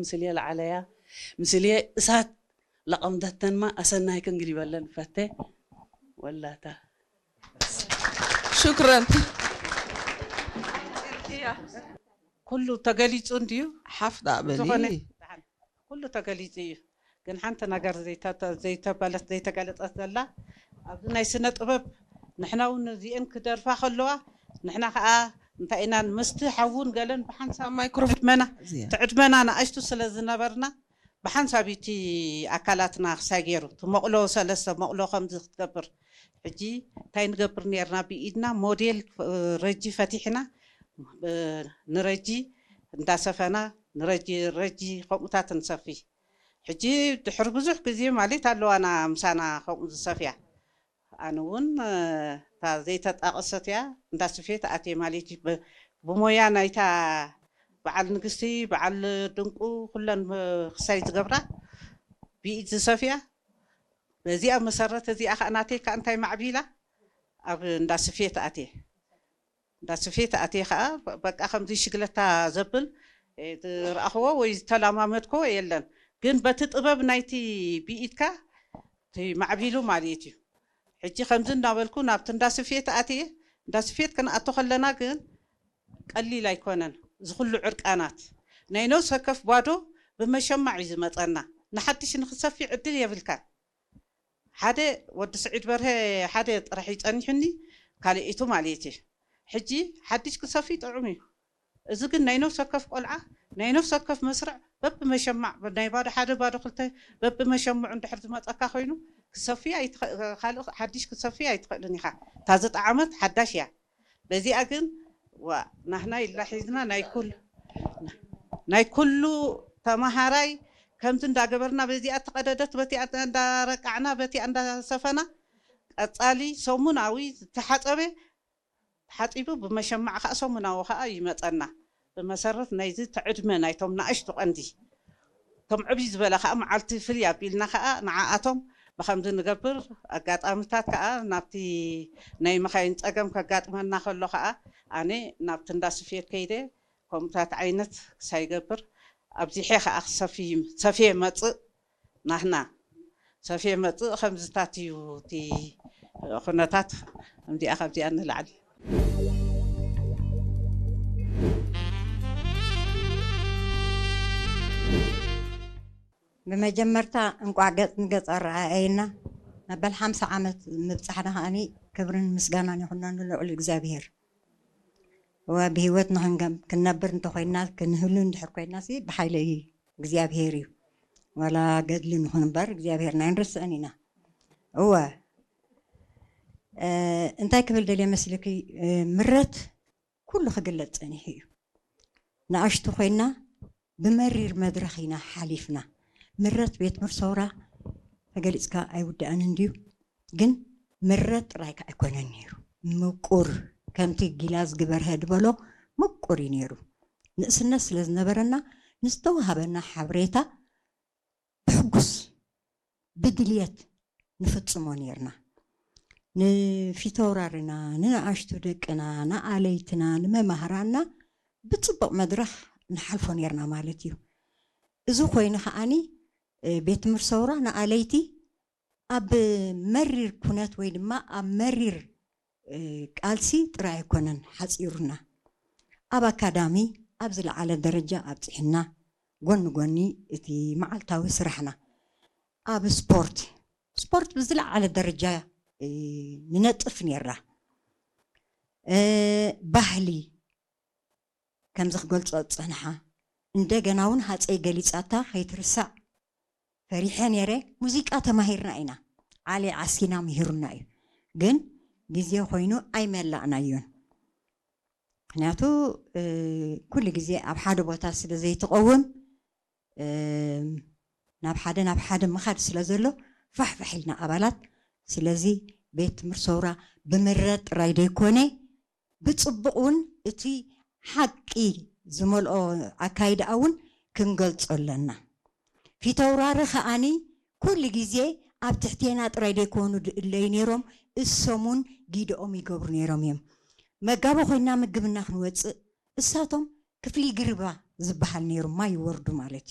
ምስልየ ለዓለያ ምስልየ እሳት ለቐምደተንማ ኣሰናይ ክንግዲበለን ፈተ ወላታ شكرا ኩሉ ተገሊፁ እንድዩ ሓፍታ በሊ ዝኾነ ኩሉ ተገሊፁ እዩ። ግን ሓንቲ ነገር ዘይተ- ዘይተበለት ዘይተገለፀት ዘላ ኣብዚ ናይ ስነ ጥበብ ንሕና እውን እዚአን ክደርፋ ከለዋ ንሕና ከዓ እንታይ ኢና ምስቲ ሓውን ገለን ብሓንሳብ ማይክሮፎን ትዕድመና እዚኣ። ትዕድመና ንኣሽቱ ስለ ዝነበርና ብሓንሳብ እቲ ኣካላትና ክሳይ ገይሩ እቲ መቕሎ ሰለስተ መቕሎ ከምዚ ክትገብር ሕጂ እንታይ ንገብር ነርና ብኢድና ሞዴል ረጂ ፈቲሕና ንረጂ እንዳሰፈና ንረጂ ረጂ ከምኡታት ንሰፊ ሕጂ ድሕሪ ብዙሕ ግዜ ማለት ኣለዋና ምሳና ከምኡ ዝሰፍያ ኣነ እውን እታ ዘይተጣቐሰት እያ እንዳ ስፌት ኣትየ ማለት እዩ ብሞያ ናይታ በዓል ንግስቲ በዓል ድንቁ ኩለን ክሳይ ዝገብራ ብኢድ ዝሰፍያ በዚኣ መሰረት እዚኣ ከዓ ናተይ ከዓ እንታይ ማዕቢላ ኣብ እንዳ ስፌት ኣትየ እንዳ ስፌት ኣትየ ከዓ በቃ ከምዚ ሽግለታ ዘብል ዝረኣኽዎ ወይ ዝተለማመድክዎ የለን ግን በቲ ጥበብ ናይቲ ብኢድካ ማዕቢሉ ማለት እዩ ሕጂ ከምዚ እናበልኩ ናብቲ እንዳ ስፌት ኣትየ እንዳ ስፌት ክንኣቶ ከለና ግን ቀሊል ኣይኮነን እዚ ኩሉ ዕርቃናት ናይ ነብስ ወከፍ ባዶ ብመሸማዕ እዩ ዝመፀና ንሓድሽ ንክሰፊ ዕድል የብልካን ሓደ ወዲ ስዒድ በርሀ ሓደ ጥራሕ ይፀኒሑኒ ካልኢቱ ማለት እዩ ሕጂ ሓድሽ ክሰፊ ጥዑም እዩ እዚ ግን ናይ ነፍሲ ወከፍ ቆልዓ ናይ ነፍሲ ወከፍ መስርዕ በብመሸማዕ ናይ ባዶ ሓደ ባዶ ክልተ በብመሸምዑ እንድሕር ዝመፀካ ኮይኑ ክሰፍያ ኣይትኸ- ካልእ ሓድሽ ክሰፍያ ኣይትኽእልን ኢኻ እታ ዝጠዓመት ሓዳሽ እያ በዚኣ ግን ዋ ናህና ኢልና ሒዝና ናይ ኩል ናይ ኩሉ ተመሃራይ ከምዚ እንዳገበርና በዚኣ ተቐደደት በቲኣ እንዳረቃዕና በቲኣ እንዳሰፈና ቀፃሊ ሰሙናዊ ዝተሓፀበ ተሓፂቡ ብመሸማዕ ከዓ ሰሙናዊ ከዓ ይመፀና ብመሰረት ናይዚ ትዕድመ ናይቶም ንኣሽቱ ቀንዲ እቶም ዕብይ ዝበለ ከዓ መዓልቲ ፍልይ ኣቢልና ከዓ ንዓኣቶም ብከምዚ ንገብር ኣጋጣሚታት ከዓ ናብቲ ናይ መካይን ፀገም ከጋጥመና ከሎ ከዓ ኣነ ናብቲ እንዳ ስፌት ከይደ ከምኡታት ዓይነት ክሳይገብር ኣብዚሐ ከዓ ክሰፊ ሰፍየ መፅእ ናህና ሰፍየ መፅእ ከምዝታት እዩ እቲ ኩነታት እንዲኣ ካብዚኣ ንላዕሊ ብመጀመርታ እንቋዕ ገጽ ንገጽ ኣረኣኣየና መበል ሓምሳ ዓመት ምብጻሕና ከኣኒ ክብርን ምስጋናን ይኹኖ ንልዑል እግዚኣብሄር እወ ብህይወት ንክንነብር እንተኮይና ክንህሉ እንድሕር ኮይና ሲ ብሓይሊ እግዚኣብሄር እዩ ዋላ ገድሊ ንኹን እምበር እግዚኣብሄርና ኣይንርስዕን ኢና እወ እንታይ ክብል ደልየ መስልኪ ምረት ኩሉ ክግለጽ ጸኒሑ እዩ። ንኣሽቱ ኮይና ብመሪር መድረኽ ኢና ሓሊፍና። ምረት ቤት ምርሰውራ ተገሊጽካ ኣይውዳእን እንድዩ። ግን ምረት ጥራይ ከዓ ኣይኮነን ነይሩ። ምቁር ከምቲ ጊላዝ ግበርሀ ዝበሎ ምቁር እዩ ነይሩ። ንእስነት ስለ ዝነበረና ንዝተዋሃበና ሓበሬታ ብሕጉስ ብድልየት ንፍጽሞ ኔርና። ንፊተውራርና፣ ንንኣሽቱ ደቅና፣ ንኣለይትና፣ ንመማህራንና ብጽቡቕ መድረኽ ንሓልፎ ኔርና ማለት እዩ። እዚ ኮይኑ ከኣኒ ቤት ትምህርቲ ሰውራ ንኣለይቲ ኣብ መሪር ኩነት ወይ ድማ ኣብ መሪር ቃልሲ ጥራይ ኣይኮነን ሓጺሩና። ኣብ ኣካዳሚ ኣብ ዝለዓለ ደረጃ ኣብጺሕና፣ ጎኒ ጎኒ እቲ መዓልታዊ ስራሕና ኣብ ስፖርት፣ ስፖርት ብዝለዓለ ደረጃ ንነጥፍ ኔርና። ባህሊ ከምዚ ክገልጾ ዝጸንሓ እንደገና እውን ሃጸይ ገሊጻታ ከይትርሳዕ ፈሪሐ ነይረ። ሙዚቃ ተማሂርና ኢና። ዓሊ ዓሲና ምሂሩና እዩ። ግን ግዜ ኮይኑ ኣይመላእናዮን። ምክንያቱ ኩሉ ግዜ ኣብ ሓደ ቦታ ስለ ዘይትቐውም ናብ ሓደ ናብ ሓደ ምኻድ ስለ ዘሎ ፋሕፋሕ ኢልና ኣባላት። ስለዚ ቤት ትምህርቲ ሰውራ ብምረት ጥራይ ዘይኮነ ብጽቡቕ እውን እቲ ሓቂ ዝመልኦ ኣካይዳኣ እውን ክንገልጾ ኣለና። ፊተውራሪ ከኣኒ ኩሉ ግዜ ኣብ ትሕቴና ጥራይ ዘይኮኑ ድእለዩ ነይሮም፣ እሶም እውን ጊደኦም ይገብሩ ነይሮም እዮም። መጋቢ ኮይና ምግብና ክንወፅእ እሳቶም ክፍሊ ግርባ ዝበሃል ነይሩ ማይ ይወርዱ ማለት እዩ።